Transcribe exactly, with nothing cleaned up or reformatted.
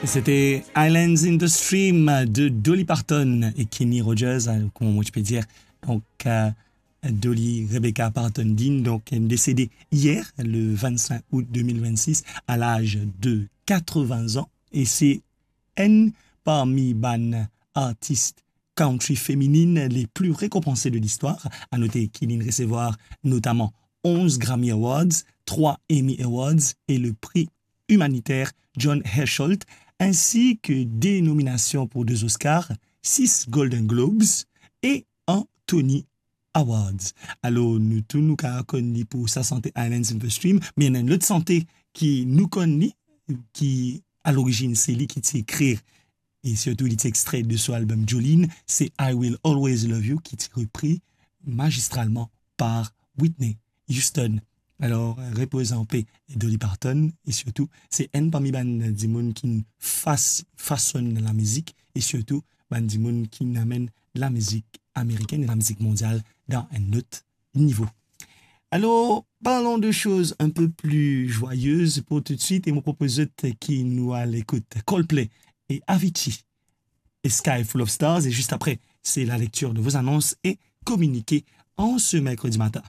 C'était Islands in the Stream de Dolly Parton et Kenny Rogers, hein, comment moi je peux dire. Donc, euh, Dolly Rebecca Parton Dean, donc, elle est décédée hier, le vingt-cinq août deux mille vingt-six, à l'âge de quatre-vingts ans. Et c'est enn parmi bann artis country féminine les plus récompensées de l'histoire. À noter qu'il a recevoir notamment onze Grammy Awards, trois Emmy Awards et le prix humanitaire John Hersholt, ainsi que des nominations pour deux Oscars, six Golden Globes et un Tony Awards. Alor, nou tou nou kapav konn li pou sa sante Islands in the Stream, me ena enn lot sante ki nou konn li, ki a lorizinn se li ki ti ekrir, e sirtou li ti extre de so album Jolene, se I Will Always Love You, ki ti repri magistralman par Whitney Houston. Alor, repoz an pe Dolly Parton, e sirtou, se enn parmi bann dimoun ki fas-, fasonn lamizik, e sirtou, bann dimoun ki amenn lamizik amerikenn e lamizik mondial dan enn lot nivo. Alors, parlons de choses un peu plus joyeuses pour tout de suite, et mo propoz zot ki nou al ekout Coldplay et Avicii, A Sky Full of Stars, et juste après, c'est la lecture de vos annonces et communiqués en ce mercredi matin.